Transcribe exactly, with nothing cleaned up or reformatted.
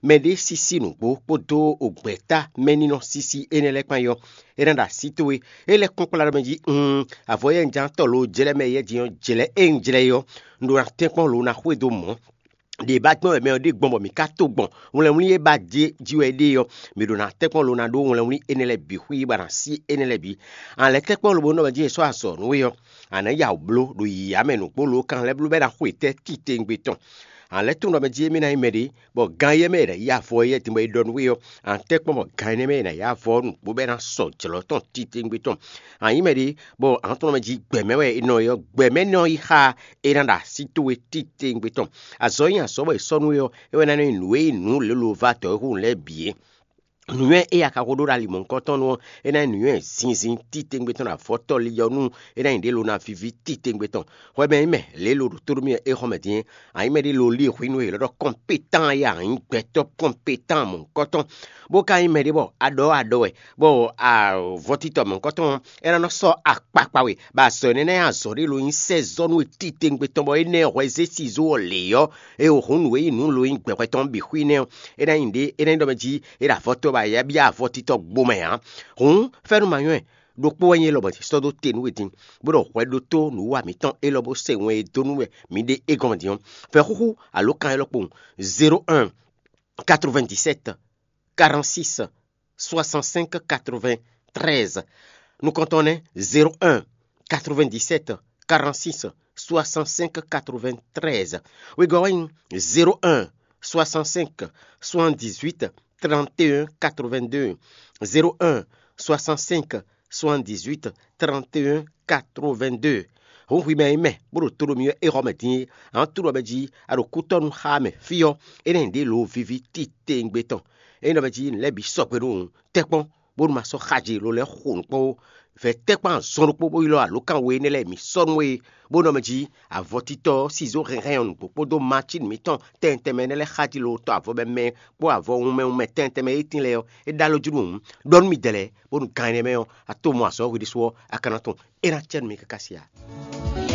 Mɛ ɖé sísí nǔgbó kpódó ògbɛ̌ta mɛ ní nɔ sísí énɛ́ lɛ́ɛ kpán yɔ, é ná ɖo así towe. É lɛ́ kpɔ́n kplá ɖɔ mɛ jí, un avɔ yɛ un ján tɔ lo jlɛ́ mɛ yɛ din ɔ́, jlɛ̌ e un jlɛ́ é ɔ́, un ɖó ná tɛ́nkpɔ́n lo ná xwedó mɔ̌. Ɖě ba gbɔn wɛ mɛ ɔ́ ɖe gbɔn bɔ mǐ ka to gbɔn wlɛnwlí e ba jɛ jí wɛ é ɖe ɔ́, mǐ ɖó ná tɛ́nkpɔ́n lo ná ɖó wlɛnwlí énɛ́ lɛ́ɛ bǐ xwí bɔ ná sí énɛ́ lɛ́ɛ bǐ. A lɛ́ tɛ́nkpɔ́n lobo nɔ mɛ jí è sɔ́ azɔ̌ nú we ɔ́, a nǎ ya wǔ bló ɖo yǐyá mɛ nǔgbó lo kan lɛ́ bló bɔ é ná xwe tɛ́ titewungbe tɔn. A lɛ́ tunwun ɖɔ mɛ jí émí ná nyí mɛɖé, bɔ gan éyɛ́ mɛ è nǎ yí avɔ éyɛ́ din bɔ è ɖɔ nú we ɔ́, a nǎ tɛ́nkpɔ́n bɔ gan énɛ́ mɛ è nǎ yí avɔ ɔ́ nǔgbó bɔ é ná sɔ jlɔ̌ tɔn titewungbe tɔn. A nyǐ mɛɖé, bɔ a nǎ tunwun ɖɔ mɛ jí gbɛ̌ mɛ wɛ è nɔ yi ɔ́, gbɛ̌ mɛ nɔ yi xá é ná ɖo así towe titewungbe tɔn. Azɔ̌ e nyí azɔ̌ bɔ è sɔ́ nú we ɔ́, é wɛ ná nyí nǔ e nyí nǔ lělo va dɔ̌ e hu lɛ́ɛ bǐ é. Nǔnywɛ́ e a ka xo ɖó ɖo ali mɔ̌hunkɔtɔn nu ɔ́, é ná nyí nǔnywɛ́ zinzin titewungbe tɔn ɖo avɔtɔ́ li ɔ́ nu, é ná nyí ɖě lo ná víví titewungbe tɔn. Hwɛ mɛ nyí mɛ lě lo ɖo tóɖó mì é xɔ mɛ din é. A nyǐ mɛɖé lo lí hwǐ nú e è lɔ ɖɔ kɔnpétan e a nyǐ gbɛtɔ́ kɔnpétan mɔ̌hunkɔtɔn, bó ka nyí mɛɖé bɔ a ɖɔ a ɖɔ wɛ, bɔ avɔtitɔ mɔ̌hunkɔtɔn ɔ́, é ná nɔ sɔ́ akpakpa we, bɔ azɔ̌ énɛ́ ná nyí azɔ̌ ɖé lo nyí sɛ́ zɔ́ nú we titewungbe tɔn bɔ énɛ́ hwɛ zé sizó ɔ́ lě ɔ́, e hun nǔ e nyí nǔ lo nyí gbɛhwɛ tɔn bǐ xwí nɛ́ ɔ́, é ná nyí ɖě é ná nyí ɖɔ mɛ jí é ɖo avɔtɔ́ ba ya byɔ́ avɔtítɔ́ gbomɛ ǎ. Hǔn fɛ́nú ma nyɔ́ ɛ ɖokpó wɛ nyí élɔ́ bɔ è sɔ́ dó te nú we din, bó ɖɔ hwɛ ɖótó nǔwa mǐtɔn élɔ́ bó se wɛn e dó nú wɛ mǐ ɖe é gɔ́n din ɔ́. Vɛ̌ xúxú alǒkan élɔ́ kpowun: zéro un quatre-vingt-dix-sept quarante-six soixante-cinq quatre-vingt-treize. Nukɔntɔn nɛ́: zéro un quatre-vingt-dix-sept quarante-six soixante-cinq quatre-vingt-treize. Wegɔ́ wɛ nyí: zéro un soixante-cinq soixante-dix-huit trente et un quatre-vingt-deux. Zéro un soixante-cinq soixante-dix-huit trente et un quatre-vingt-deux. Hǔn hwi mɛ e nyí mɛ bó ɖo to ɖo mì wɛ é xɔ mɛ din é, a nǎ tunwun ɖɔ mɛ jí a ɖo kútɔ́nu xá mɛ fí ɔ́, é ná nyí ɖě lǒ víví titewungbe tɔn. Ényí ɖɔ mɛ jí nǔ lɛ́ɛ bǐ sɔgbe nú tɛ́nkpɔ́n, bónú ma sɔ́ xaji lo lɛ́ɛ xo nǔ kpɔ́n ó. Vɛ̌ tɛ́nkpɔ́n azɔn ɖokpó bó ylɔ́ alǒkan we énɛ́ lɛ́ɛ mǐ sɔ́ nú we, bó ɖɔ mɛ jí avɔtítɔ́ sizó hɛnhɛn ɔ́ nǔgbó kpódó macín mǐtɔn tɛntɛnmɛ énɛ́ lɛ́ɛ xaji lo tɔ avɔ mɛ mɛ kpó avɔ wunmɛ wunmɛ tɛntɛnmɛ e tín lɛ́ɛ ɔ́, é ɖó alɔ jú nú hǔn. Ɖɔ nú mì dɛ̌ lɛ́ɛ, bónú gan énɛ́ mɛ ɔ́, a to mɔ azɔ̌ hwi ɖésú ɔ́, a ka ná tunwun é ná cɛ nú mi káká sia.